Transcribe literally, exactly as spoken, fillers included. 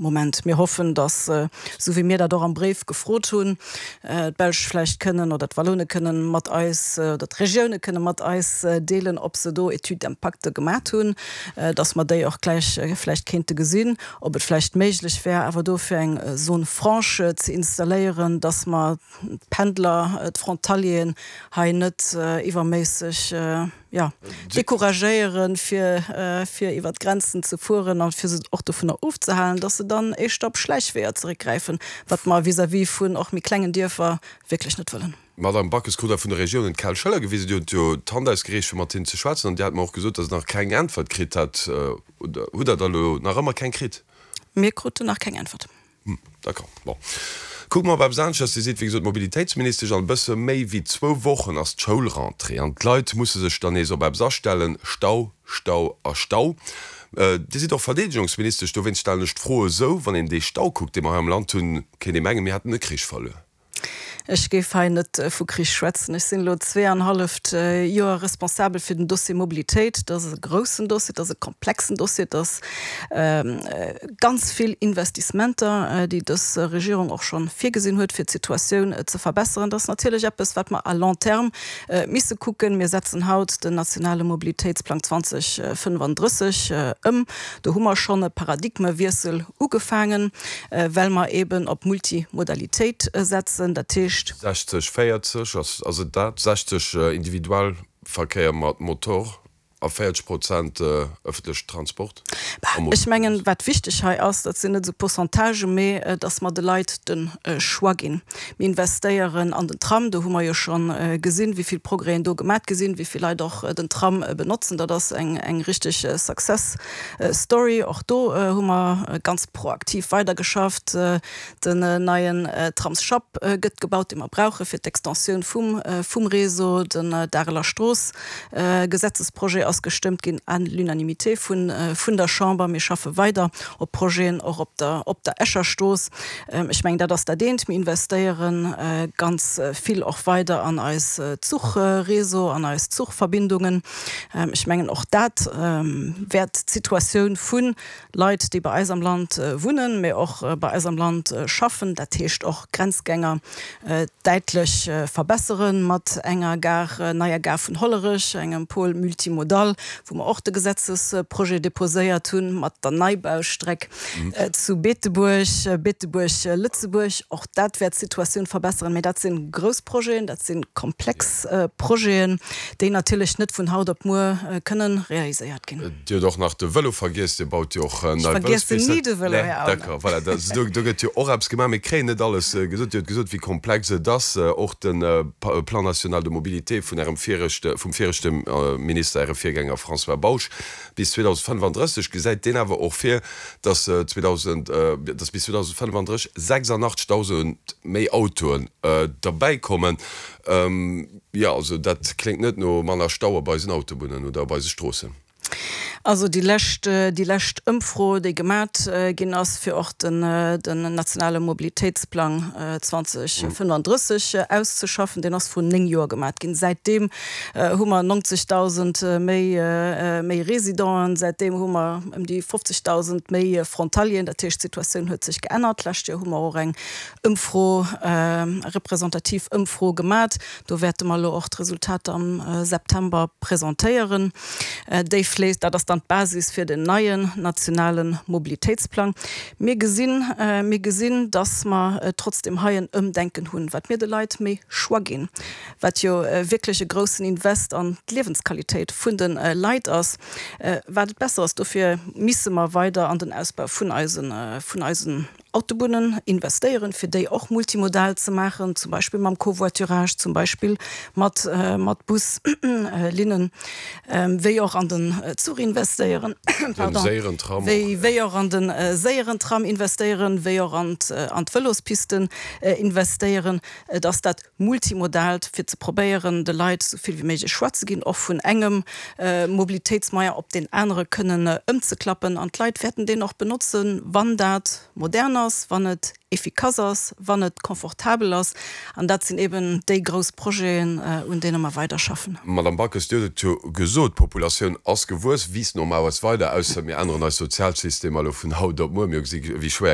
Moment. Mir hoffen, dass, esou wéi mir dat och am Bréif gefrot hunn, d'Belsch vläicht kënnen oder d'Wallone kënnen mat eis oder d'Regioune kënne mat eis deelen, ob se do Études d'impact gemat hunn, dass mer déi och gläich vläicht kéinte gesinn, ob et vläicht méiglech wär, awer do fir eng Zone franche ze installéieren, dass mer d'Pendler, d'Frontalieren hei net iwwerméisseg, jo, decouragéieren, fir, fir iwwert d'Grenzen ze fueren a fir se och dovunner ofzehalen, dass se dann éischter op Schläichweeër zeréckgräifen, wat mer vis-à-vis vun och méi klengen Dierfer wierklech net wëllen. D'Madame Backes krut da vun de Regiounen d'Kal Schëller gewisen. Dir hutt jo d'Hand ausgereecht, fir mat hinnen ze schwätzen, an Dir hat mer och gesot, dass Der nach keng Äntwert kritt hat. Oder hutt Der der elo nach ëmmer keng kritt? Mir kruten nach keng Äntwert. Hm, d'accord. Bon. Kucke mer op eppes aneschters. Dir sidd, wéi gesot, Mobilitéitsministesch an e bësse méi wéi zwou Wochen ass d'Schoulrentrée an d'Leit musse sech dann nees op eppes astellen, Stau, Stau a Stau. Dir sidd och Verdeedegungsministesch, dowéinst stellen ech d'Fro esou, Wann een dee Stau kuckt, dee mer hei am Land hunn, kéint ee mengen, mir hätten e Krich verluer. Ech géif hei net vu Krich schwätzen. Ech sinn elo zwee an halleft Joer responsabel fir den Dossier Mobilitéit. Dat ass e groussen Dossier, dat ass e komplexen Dossier, dat ass ganz vill Investissementer, déi dës Regierung och scho virgesinn huet, fir d'Situatioun ze verbesseren. Dat ass natierlech eppes, wat mer à long terme misse kucken. Mir setzen haut den nationale Mobilitéitsplang zwanzeg fënnefandrësseg ëm. Do hu mer schonn e Paradigmewiessel ugefaangen, well mer eeben op Multimodalitéit setzen. Dat heescht. Sechzeg, véierzeg, ass et dat? Sechzeg Individualverkéier mat Motor a véierzeg Prozent ëffentlechen Transport a Moto. Ech mengen, wat wichteg hei ass, dat sinn net esou Pourcentagen, mee datt mer de Leit de Choix ginn. Mir investéieren an den Tram, do hu mer jo scho gesinn, wéi vill Progrèsen do gemat gi sinn, wéi vill Leit och den Tram benotzen. Dat ass eng richteg Success Story. Och do hu mer ganz proaktiv weidergeschafft. Den neien Tramsschapp gëtt gebaut, dee mer brauche fir d'Extensioun vum vum Réseau. Den Dareler Strooss Gesetzesprojet ass gestëmmt ginn à l'unanimité vun vun der Chamber. Mir schaffe weider op Projeten och op der op der Escher Strooss. Ech mengen, dat ass dat eent. Mir investéiere ganz vill och weider an eis Zuchréseau, an eis Zuchverbindungen. Ech mengen, och dat wäert d'Situatioun vu Leit, déi bei eis am Land wunnen, mee och bei eis am Land schaffen, dat heescht och Grenzgänger, däitlech verbesseren, mat enger Gare, neier Gare vun Hollerech, engem Pôle multimodal, wou mer och de Gesetzesprojet deposéiert hunn, mat der Neibaustreck zu Beetebuerg, Beetebuerg-Lëtzebuerg. Och dat wäert d'Situatioun verbesseren. Mee dat si grouss Projeten, dat si komplex Projeten, déi natierlech net vun haut op muer kënnen realiséiert ginn. Dir hutt och nach de Vëlo vergiess. Dir baut jo och nei Ech vergiessen Vëlospisten. ni de Vëlo, Nee, Här Aulner. d'accord, voilà, da, do, do gëtt jo och eppes gemaach. Mir kréien net alles gesot. Dir hutt gesot, wéi komplex et ass. Och de Plan national de mobilité vun Ärem viregte, vum viregte Minister, Äre Virgänger François Bausch, bis zweedausendfënnefandrësseg gesäit deen awer och vir, dass zweedausend, dass bis zweedausendfënnefandrësseg sechsundachtzigtausend méi Autoen derbäikommen. Jo, also dat kléngt net no manner Stau op eisen Autobunnen oder op eise Stroossen. Also déi lescht, déi lescht Ëmfro, déi gemat ginn ass, fir och den, den nationale Mobilitéitsplang zweedausendfënnefandrësseg auszeschaffen, deen ass vrun néng Joer gemat ginn. Säitdeem hu mer neunzigtausend méi, méi Résidenten, säitdeem hu mer ëm déi fofzigtausend méi Frontalieren. Dat heescht, d'Situatioun huet sech geännert. D'lescht Joer hu mer och eng Ëmfro, representativ Ëmfro gemat. Do wäerte mer elo och d'Resultater am September presentéieren. Déi fléisst, dat ass dann d'Basis fir den neien nationale Mobilitéitsplang. Mir gesinn, mir gesinn, dass mer trotzdem hei en Ëmdenken hunn, wat mir de Leit méi Choix ginn, wat jo wierklech e groussen Invest an d'Liewensqualitéit vun de Leit ass, wat et besser ass. Dofir misse mer weider an den Ausbau vun eisen, vun eisen Autobunnen investéieren, fir déi och multimodal ze maachen, zum Beispill mam Covoiturage, zum Beispill mat mat Buslinnen, wéi och an den Zuch investéieren, pardon, wéi wéi och an de séieren Tram investéieren, wéi och an an d'Vëlospisten investéieren. Et ass dat Multimodaalt, fir ze probéieren, de Leit esou vill wéi méiglech Choix ze ginn, och vun engem Mobilitéitsmoyen op deen anere kënnen ëmzeklappen. An d'Leit wäerten deen och benotzen, wann dat modern ass, wann et efficace ass, wann et confortabel ass. An dat sinn eben déi grouss Projeten, un deene mer weiderschaffen. Madame Backes, Dir hutt et jo gesot, d'Populatioun ass gewuess, wiisst normal weider, ausser mir änneren eis Sozialsystemer elo vun haut op muer. Mir hu gesi wéi schwéier